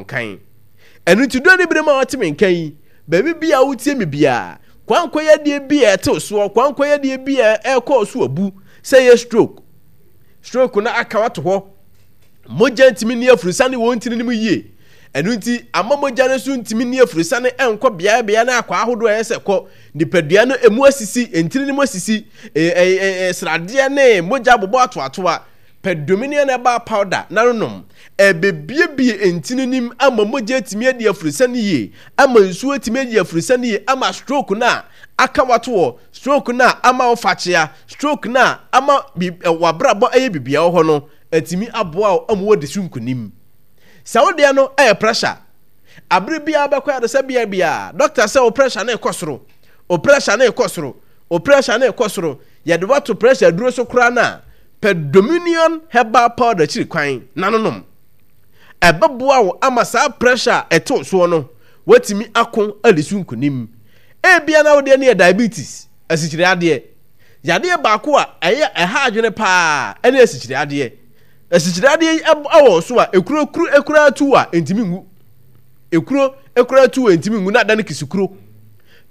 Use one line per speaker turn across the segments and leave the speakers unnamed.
Nkan. Ɛno nti dɔ ne berɛ mu a wote me nka yi, baabi biara a wotie me biara, kwankwayadeɛ bi a ɛtew soɔ, kwankwayadeɛ bi a ɛrekɔɔ so abu, sɛ ɛyɛ stroke, stroke no aka wato hɔ, mogya ntumi nni afurusane wɔ ntini no mu yie, ɛno nti ama mogya no so ntumi nni afurusane nkɔ beaeɛ beaeɛ ne akɔ ahodoɔ a ɛyɛ sɛ kɔ, nipadua no emu asisi, ntini no mu asisi, sradeɛ ne mogya abobɔ atoatoa. Pɛ Dominion Herbal Powder na no nom. Ɛbɛbuebue ntini no mu ama mogya atumi adi aforosiane yie, ama nsuo atumi adi aforosiane yie, ama stroke no a aka wato hɔ, stroke no a ama wo fakyea, stroke no a ama w'abrabɔ ayɛ biribiara wɔ hɔ no, atumi aboa wo ama woadi so nkonim. Sɛ wo deɛ no yɛ pressure, abere biara bɛkɔ ayaresabea biara, doctor sɛ wo pressure no rekɔ soro, wo pressure no rekɔ soro, wo pressure no rekɔ soro, yɛde wo ato pressure aduro so koraa no a, Pɛ Dominion Herbal Powder akyiri kwan na no nom. Ɛbɛboa wo ama saa pressure a ɛtew soɔ no, woatumi ako adi so nkonim. Ebia na wo deɛ no yɛ diabetes, asikyire adeɛ. Yadeɛ baako a ɛyɛ ɛha adwene paa ɛne asikyire adeɛ. Asikyire adeɛ yi ɛwɔ wo so a, ekuro kuru ekura tu a ɛntumi nwu. Ekuro ekura tu a ɛntumi nwu na adane kisikuro.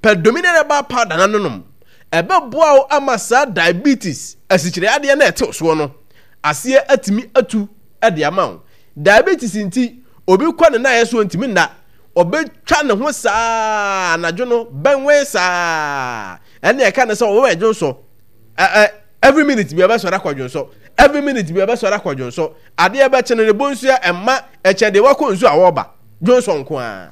Pɛ Dominion Herbal Powder na no nom. Ɛbɛboa wo ama saa diabetes, asikyire adeɛ no a ɛtew soɔ no, aseɛ atumi atu de ama wo. Diabetes nti, obi kɔ ne naeɛ so ɔntumi nna. Ɔbɛtwa ne ho saa anadwo no, bɛnwɛn saa. Ɛnna ɛka ne sɛ ɔwɛn dwonsɔ. Every minute bi ɔbɛsɔre akɔ dwonsɔ. Every minute bi ɔbɛsɔre akɔ dwonsɔ. Adeɛ bɛkye no ne bonsua ɛmma ɛkyɛ deɛ wakɔ nsuo a ɔreba. Dwonsɔ nko ara.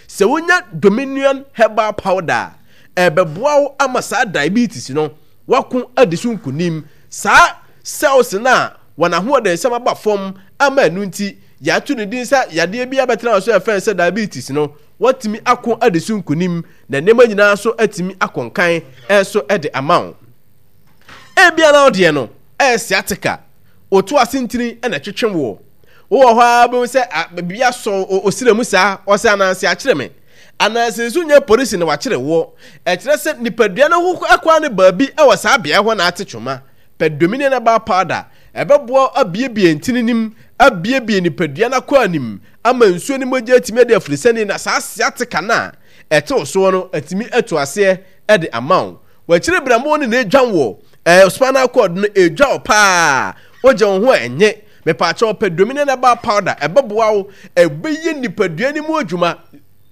Sɛ wonya Dominion Herbal Powder a, ɛbɛboa wo ama saa diabetes no wako adi so nkonim. Saa cells no a wɔn ahoɔdensɛm aba fam ama ɛno nti yɛato ne din sɛ yadeɛ bi abɛtena wɔn so a yɛfrɛ no sɛ diabetes no, wɔatumi ako adi so nkonim na nneɛma nyinaa nso atumi akɔ nkan nso de ama wo. Ebia na wo deɛ no ɛyɛ sciatica, woto ase ntini na ɛtwetwe woɔ. Wowɔ hɔ ara bɛhu sɛ biribi asɔ osira mu saa, ɔsɛ ananse akyere me. Ananse nso nyɛ polisi na wakyere woɔ. Ɛkyerɛ sɛ nipadua no ho akwaa no baabi wɔ saa beaeɛ hɔ na ate twoma. Pɛ Dominion Herbal Powder. Ɛbɛboa wo abiebie ntini no mu, abiebie nipadua no akwaa no mu, ama nsuo ne mogya atumi adi afirisani na saa sciatica no a ɛte wo soɔ no atumi atu aseɛ de ama wo. W'akyiri berɛmo no na ɛdwan woɔ, ɛɛ spinal cord no ɛdwa wo paa, wogye wo ho a ɛnye. Mepaakyɛw pɛ Dominion Herbal Powder, ɛbɛboa wo, ɛbɛyɛ nipadua no mu adwuma.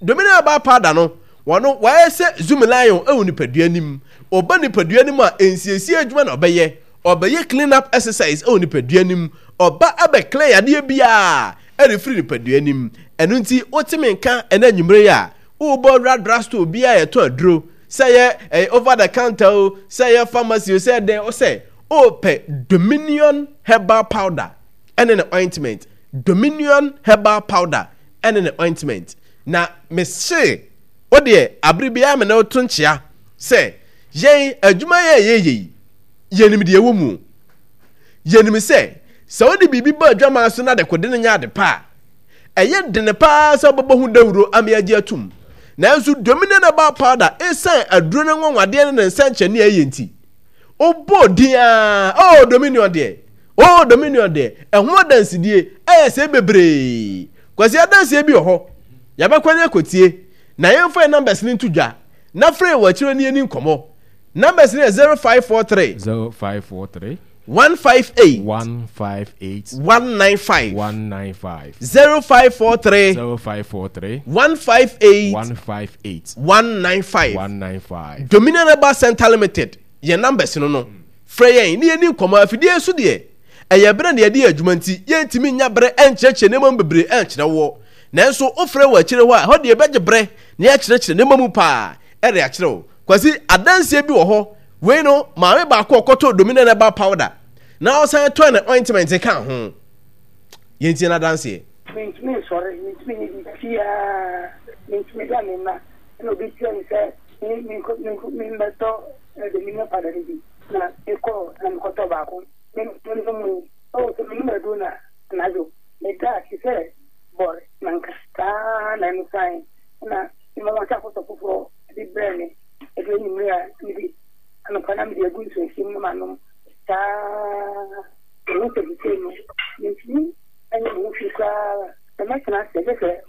Dominion Herbal Powder no, wɔno wɔayɛ sɛ Zoom Lion wɔ nipadua no mu. Ɔba nipadua no mu a, nsiesie adwuma na ɔbɛyɛ. Ɔbɛyɛ clean up exercise wɔ nipadua no mu. Ɔba abɛ clear yadeɛ biara ɛrefiri nipadua no mu. Ɛno nti, wote me nka ɛnɛ anwummere yi a, wobɔ wura drugstore biara a yɛtɔn aduro, sɛ ɛyɛ ɛyɛ over the counter o, sɛ ɛyɛ pharmacy o, sɛ ɛdɛn o, sɛ wopɛ Dominion Herbal Powder ɛne ne ointment, Dominion Herbal Powder ɛne ne ointment. Na mese wo deɛ abere biara me ne wo to nkyea sɛ yɛn adwuma yɛ yɛyɛ yi, yɛnim deɛ ɛwɔ mu. Yɛnim sɛ sɛ wode biribi bɔ adwaman so na dekode no nyɛ ade pa a, ɛyɛ dene paa sɛ wobɛbɔ ho dawuro ama yɛagye atum. Nanso Dominion Herbal Powder, esiane aduro no nwanwadeɛ ne ne nsɛnkyerɛnne a ɛyɛ nti, wobɔɔ din ara, oh Dominion deɛ, oh Dominion deɛ, ɛho adansedie ɛyɛ sɛ bebree. Kwasi adanseɛ bi wɔ hɔ, yɛbɛkɔ ne akɔtie, na yɛmfa yɛn numbers no nto dwa, na frɛ yɛn wɔ akyire ne yɛni nkɔmmɔ. Numbers no yɛ 0543.
0543.
158.
158.
195.
195.
0543.
0543.
158.
158.
195.
195.
Dominion Herbal Center Limited yɛn numbers no no. Frɛ yɛn ne yɛni nkɔmmɔ. Afidie so deɛ, ɛyɛ berɛ na yɛde yɛ adwuma nti, yɛntumi nya berɛ nkyerɛkyerɛ nneɛma mu bebree nkyerɛ woɔ. Nanso wofrɛ wɔ akyire hɔ a, ɛhɔ deɛ yɛbɛgye berɛ na yɛakyerɛkyerɛ nneɛma mu paa de akyerɛ wo. Kwasi, adanseɛ bi wɔ hɔ. Wei no, maame baako a ɔkɔtɔɔ Dominion Herbal Powder na ɔsan tɔɔ ne ointment kaa ho. Yɛntie n'adanseɛ.
Mentumi nsɔre, mentumi nyɛ biribiara, mentumi da me mma. Ɛna obi kyerɛɛ me sɛ me menkɔ menkɔ memmɛtɔ Dominion powder no bi. Na mekɔɔ na mekɔtɔɔ baako. Me menom yi, oh sɛ menom aduro no a, anadwo meda te sɛ bɔre nanka. Saa ara na ɛno san na mema wɔasan akɔtɔ foforɔ de brɛɛ me. Ɛduru anwummere a, mede anɔpa na mede agu nsuohyeɛ mu na manom saa ara. Mehu sɛ seesei no, mentumi nyɛ me ho hwee koraa. Sɛ mɛtena ase, gye sɛ.